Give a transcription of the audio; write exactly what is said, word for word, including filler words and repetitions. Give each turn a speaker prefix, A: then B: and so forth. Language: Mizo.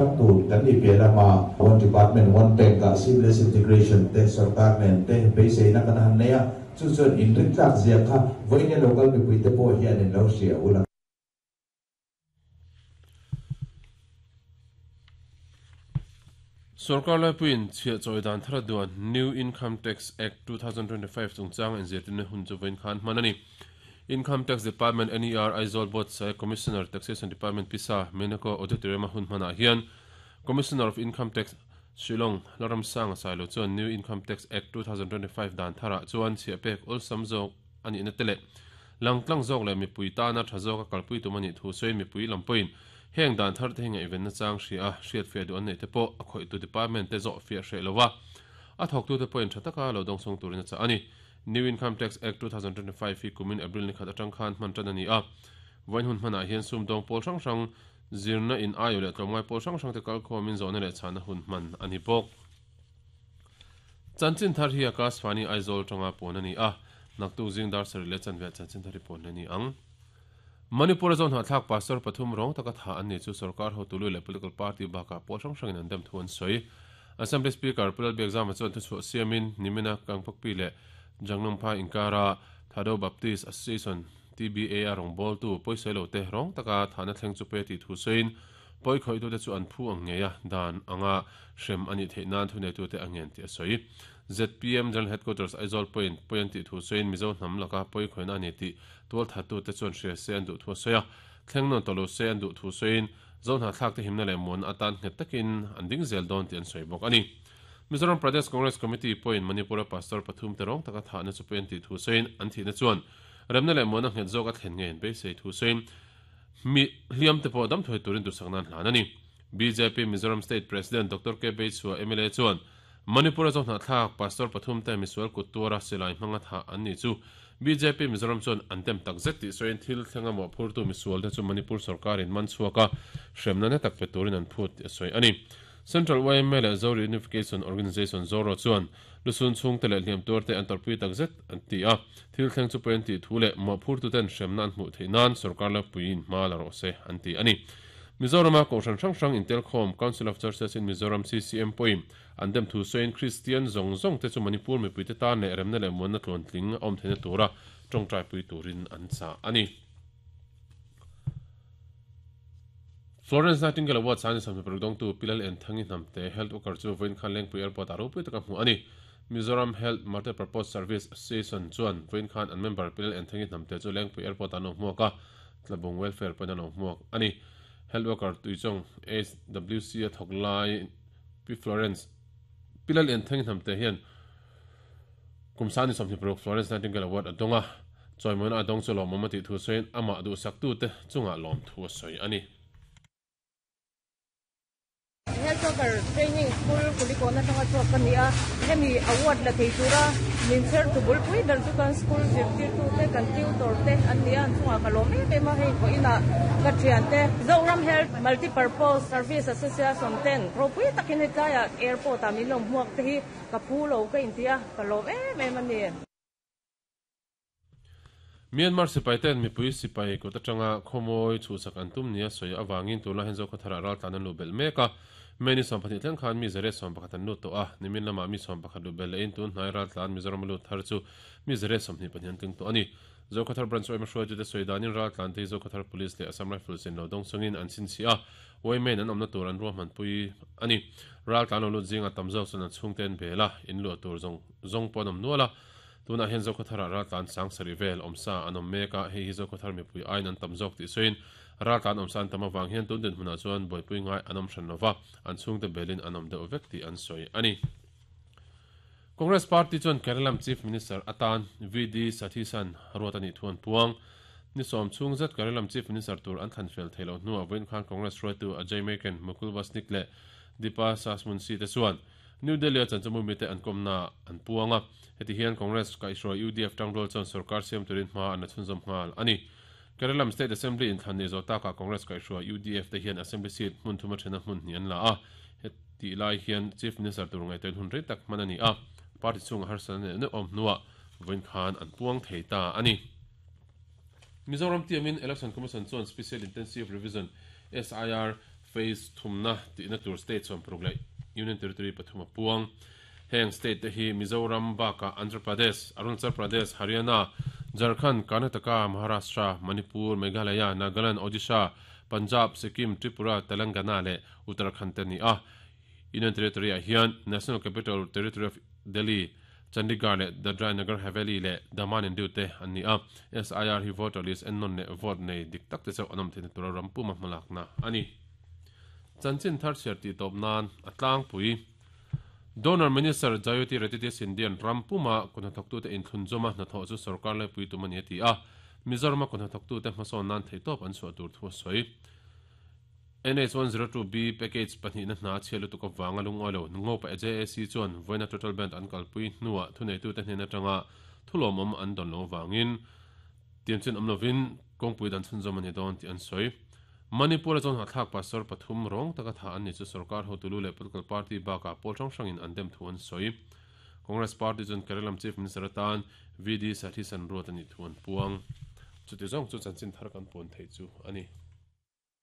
A: Tur kan ni pe lama one department one bank a seamless integration te sarkar nen te beiseina kan han nei a chu chuan in rin tlak zia kha vawiin local mipui te pawh hian in lo hria ula.
B: Sarkar laipuiin chhiah chawi dan thar duan New Income Tax Act twenty twenty-five chungchang inzirtirna hun chu vawiin khan hman a ni. Income Tax Department N E R Aizawl Board Sai Commissioner Taxation Department Pisa Menako Auditorium hun hmanah hian Commissioner of Income Tax Shillong Laram Sang Sailo chuan New Income Tax Act twenty twenty-five dan tharah chuan chhiah pek awlsam zawk ani na tele langtlang zawk leh mipui tana tha zawk a kalpui tum ani thu sawi mipui lampuiin heng dan thar te hinga event na chang hria a hriat fe du an nei te pawh a khawih tu department te zawh fiah hreh lowa a thawk tu te pawhin tha taka lo dawng sawng turin a cha ani. New Income Tax Act twenty twenty-five hi kumin April ni khat atang khan hman tan ani a vain hun hmanah hian sum dawng pawl hrang hrang zirna in ayo leh tlawmngai pawl hrang hrang te kal khawmin zawhna leh chhana hun hman ani bawk. Chanchin thar hi Akashvani Aizawl tanga pawn ani a naktu zing dar sari leh chanve chanchin thar hi pawn ani ang. Manipur zone ha thlak pastor pathum rong taka tha an ni chu sarkar hotulu leh political party baka pawl hrang hrangin an dem thu an sawi. Assembly Speaker Pulal Biakzama chuan thu chhuah siamin nimina Kangpokpi leh Jangnampa Inkara Thado Baptist Association T B A a rong bol tu poisailo te rong taka thana thleng chu pe ti thu sain poi khoi tu te chu an phu ang ngeia dan anga hrem ani theihnan thu nei tu te angen ti a sawi. Z P M General Headquarters Aizawl point point ti thu sain Mizo hnam laka poi khoina ani ti tual thatu te chuan hria se an du thu sawi a thleng non tolo se an du thu sain zon ha thlak te himna le mon atan nghet takin an ding zel don ti an sawi bawk ani. Mizoram Pradesh Congress Committee point Manipur pastor pathum terong taka thana chu pen ti thu sain an thi na chuan remna le mona nghet zawk a thlen ngen be sei thu sain mi hliam te pawh dam thoi turin du saknan hlan ani. B J P Mizoram State President Doctor K Beichua M L A chuan Manipur zawk hna thlak pastor pathum te misual kut tuara silai hmanga tha an ni chu B J P Mizoram chuan an tem tak zet ti sain thil thlenga mo phur tu misual te chu Manipur sarkarin man chhuaka hremna na tak pe turin an phut ti sawi ani. Central Y M A leh Zo Reunification Organization Zoro chuan lusun chung te leh hliam tur te an torpui tak zet an ti a thil thleng chu pen ti thu leh mo phur tu ten hremna an hmuh theih nan sarkar la puiin hma la rawh se an ti ani. Mizorama kohhran hrang hrang Intelkhawm Council of Churches in Mizoram C C M poin an dem thu sawiin Christian zawng zawng te chu Manipur mipui te tan leh remna leh muanna tluan tling awm theihna tura tawngtai pui turin an cha ani. Florence Nightingale Award san sam paruk tu Pilal en thangi namte health worker chu voin khan Lengpui Airport aro pui taka hmu ani. Mizoram Health Multi-Purpose Service Association chuan voin khan an member Pilal en thangi namte chu Lengpui Airport ano hmuaka tlabung welfare pan ano hmuak ani. Health worker tuichong S W C a thoklai P Florence Pilal en thangi namte hian kumsani somni paruk Florence Nightingale Award adonga choimon adong chu lomama ti thu soin ama du saktu te chunga lom thu soi ani.
C: Health worker training school kulikona tanga chuak kan ni a hemi award la thei tura min cher tu bul pui dar chu kan school zirtir tu te kan tutor te an ni an chunga ka lom em em a hei ko ina ka thian te Zoram Health Multi-Purpose Service Association ten ro pui takin hetlai airport a min lom hmuak te hi ka phu lo ka intia ka lom em em ani.
B: Myanmar sipai ten mipui sipai kut atanga khawmawi chhuhsak an tum nia sawi awangin tuna hen zo khawthar ral tlan an lu bel mek a meni sawm pahnih thleng khan mi zare sawm pakhat an lut tawh a nimin lama mi sawm pakhat lu bel lehin tun hnai ral tlan Mizoram lut thar chu mi zare sawmhnih pahnih an tling tawh ani. Zo khawthar branch oima hruai chu te sawi danin ral tlan te zo khawthar police leh Assam Rifles in lo dawng chungin an chhinchhi a Women an awmna tur an ruahman pui ani. Ral tlan lo lut zinga tam zawk chuan an chhungte an bel a in luah tur zawng zawng pawh an awm nual a tuna hen zo khawthar ral tlan sang sari vel awmsa an awm mek a hei hi zo khawthar mipui aiin an tam zawk tih sawiin ral tlan awmsa an tam awang hian tun din hmunah chuan buaipui ngai an awm hran lova an chhungte belin an awm deuh vek tih an sawi ani. Congress Party chuan Kerala Chief Minister atan V D Sathisan ruat ani thu an puang ni sawm chung zet Kerala Chief Minister tur an thlan fel theilo hnuah vawiin khan Congress hruaitu Ajay Maken Mukul Wasnik leh Deepa Sasmunsi te chuan New Delhi a chanchamu mi te an kawmna an puanga heti hian Congress kaihhruai U D F tangrol chuan sarkar siam turin hma an la chhunzawm nghal ani. Kerala State Assembly in thlan ni zo taka Congress kaihhruai U D F te hian Assembly seat hmun thuma thena hmun hnih an la a heti lai hian Chief Minister tur ngai ten hun rei tak hman ani a party chunga harsan ne awm hnuah vawiin khan an puang thei ta ani. Mizoram tiamin Election Commission chuan Special Intensive Revision S I R Phase thumna tihna tur state sawm paruk leh Union Territory pathum a puang. Heng state te hi Mizoram bakah Andhra Pradesh, Arunachal Pradesh, Haryana, Jharkhand, Karnataka, Maharashtra, Manipur, Meghalaya, Nagaland, Odisha, Punjab, Sikkim, Tripura, Telangana leh Uttarakhand te a ni a. Union Territory ah hian National Capital Territory of Delhi, Chandigarh leh Dadra and Nagar Haveli leh Daman and Diu te an ni a. S I R hi voter list ennawn leh vote nei dik tak te chauh an awm theihna tura ram puma hmalakna a ni. Chanchin thar chhiar tih tawp nan a tlangpui. Donor Minister Jayoti Ratidya Scindian ram puma kut hnathawktute inthlunzawma hnathawh chu sorkar laipui tum a ni a ti a, Mizorama kut hnathawktute hmasawn nan theihtawp an chhuah tur thu a sawi. N H one zero two B package pahnihna hna a chhiat lutuk avanga lungawi lo Ngopa J A C chuan vawiina total band an kalpui hnuah thuneitute hnen atanga thulawmawm an dawn lo avangin tiamchin awm lovin kawngpui dan chhunzawm a ni dawn tih an sawi. Manipur-a chuan hahthlak pastor pathum rawng taka tha an ni chu sorkar hotulu leh political party bakah pawl hrang hrangin an dem thu an sawi. Congress party chuan Kerala Chief Minister atan V D Satheesan ruat a nih thu an puang. Chuti zawng chu chanchin thar kan puan theih chu a ni.